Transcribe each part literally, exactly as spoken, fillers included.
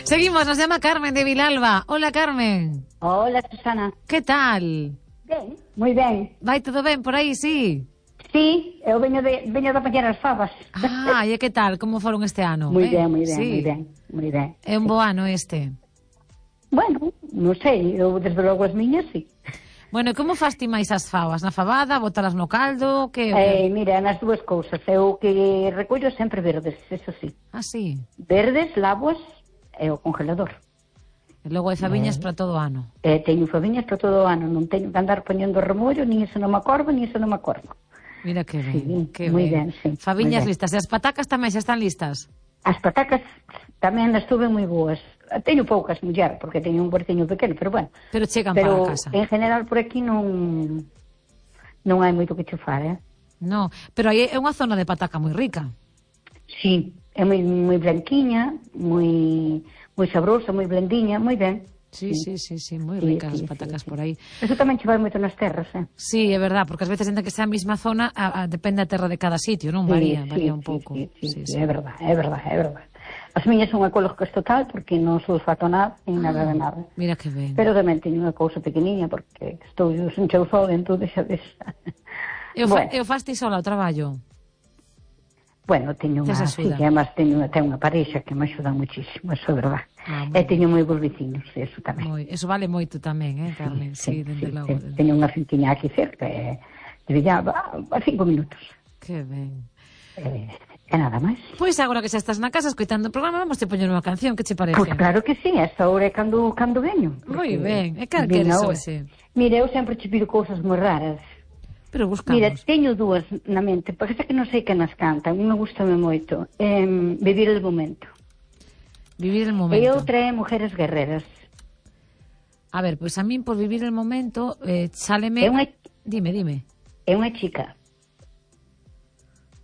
Seguimos, nos llama Carmen de Vilalba. Hola, Carmen. Hola, Susana. Que tal? Ben, moi ben. Vai todo ben por aí, sí? Sí, eu veño de, veño de apañar as favas. Ah, e que tal? Como foron este ano? Moi eh? ben, moi ben, sí. moi ben, moi ben. É un bo ano este. Bueno, non sei, eu desde logo as miñas, sí. Bueno, e como fas ti máis as fabas? Na fabada, botalas no caldo? Que... Eh, mira, nas dúas cousas. Eu que recollo sempre verdes, eso sí. Ah, sí. Verdes, laboas e o congelador. E logo hai faviñas Eh. para todo o ano. E teño faviñas para todo o ano. Non teño que andar poñendo remollo, nin iso non me acordo, nin iso non me acordo. Mira que ben, Sí, que moi ben. ben, sí, Faviñas moi ben. listas. E as patacas tamén xa están listas? As patacas tamén as tuve moi boas. Teño poucas, muller, porque teño un huertiño pequeno, pero bueno. Pero chegan pero, para a casa. en general por aquí non non hai moito que chufar, eh? No, pero aí é unha zona de pataca moi rica. Sí, é moi moi branquiña, moi moi sabrosa, moi blandiña, moi ben. Sí, sí, sí, sí, moi Sí, ricas sí, as patacas sí, sí. por aí. Eso tamén che vai moito nas terras, eh? Sí, é verdad, porque ás veces ainda que sea a mesma zona, a, a, depende da terra de cada sitio, non? Sí, Varía, sí, varía un sí, pouco. Sí, sí, Sí, sí, sí. é verdad, é verdad, é verdad. As miñas son ecológicas total porque non sulfato nada, nin nada de nada. Mira que ben. Pero tamén teño unha cousa pequeniña porque estou sen cheu sol, entón deixa de... Eu, fa, Bueno. eu fas ti sola o traballo? Bueno, teño unha, Tes sí, axuda. que además teño, teño unha parexa que me axuda muchísimo, eso é verdad. Ah, moi E teño moi bons vecinos, eso tamén. Moi, eso vale moito tamén, eh, Carmen? Sí, dende logo. te- dende- Teño unha fintiña aquí cerca, e de Villaba, a cinco minutos. Que ben. E, e nada máis. Pois agora que xa estás na casa escoitando o programa, vamos te poñer unha canción, que che parece? Pois claro que sí, esta hora é cando, cando veño. Moi porque ben, e cal vin queres ahora. hoxe? Mira, eu sempre che pido cousas moi raras. Pero buscamos. Mira, teño dúas na mente, porque esta que non sei que nas cantan, unha gustame moito. Eh, Vivir el momento. Vivir el E momento. outra é Mujeres guerreras. A ver, pois a min por vivir el momento, eh, sáleme... É unha, Dime, dime. é unha chica.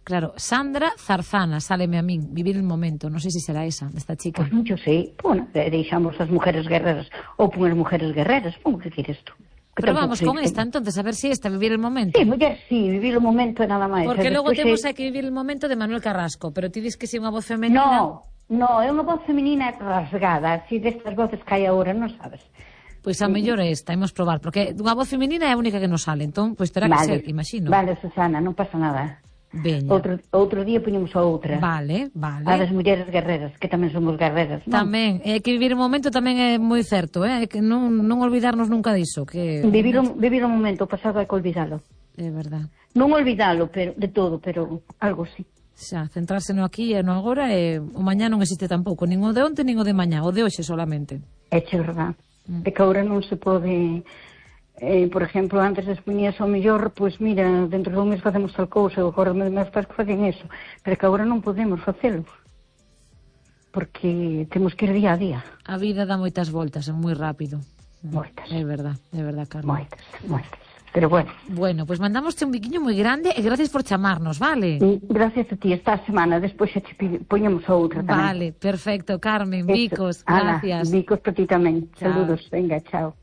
Claro, Sandra Zarzana, sáleme a min, vivir el momento. Non sei se será esa, desta chica. Pois non yo sei. Bueno, deixamos as mujeres guerreras ou pon as mujeres guerreras. Pon que queres tú. Que Pero tampouco vamos sei con que- esta, entonces, a ver si esta, vivir el momento. Sí, muller, sí, vivir o momento é nada máis. Porque E logo despois temos é- hai que vivir el momento de Manuel Carrasco, pero ti dis que si é unha voz femenina... No, no, é unha voz femenina rasgada, así destas voces que hai agora, non sabes. Pois a mellor é esta, imos probar, porque unha voz femenina é a única que nos sale, entón, pois terá que ser, imagino. Vale, Susana, non pasa nada. Veña. Outro, outro día poñemos a outra. Vale, A das vale. mulleres guerreras, que tamén somos guerreras, non? Tamén, é que vivir o momento tamén é moi certo, eh? É que non, non olvidarnos nunca diso, que... Vivir o, vivir o momento, o pasado hai que olvidalo. É verdad. Non olvidalo, pero de todo, pero algo sí. Xa, centrarse no aquí e no agora, e o mañá non existe tampouco, nin o de onte, nin o de mañá, o de hoxe solamente. É che verdad. Mm. É que agora non se pode... Eh, por exemplo, antes as poñías ao mellor, pois mira, dentro dun mes facemos tal cousa, ou agora meus pais que facen eso, pero que agora non podemos facelo, porque temos que ir día a día. A vida dá moitas voltas, é moi rápido. Moitas. É verdad, é verdad, Carmen. Moitas, moitas. Pero bueno, Bueno, pois mandámoste un biquiño moi grande e gracias por chamarnos, vale? e gracias a ti, esta semana, despois xa te pi- poñemos a outra tamén. Vale, perfecto, Carmen, Eso. bicos, Ala, gracias. bicos para ti tamén. Chao. Saludos, venga, chao.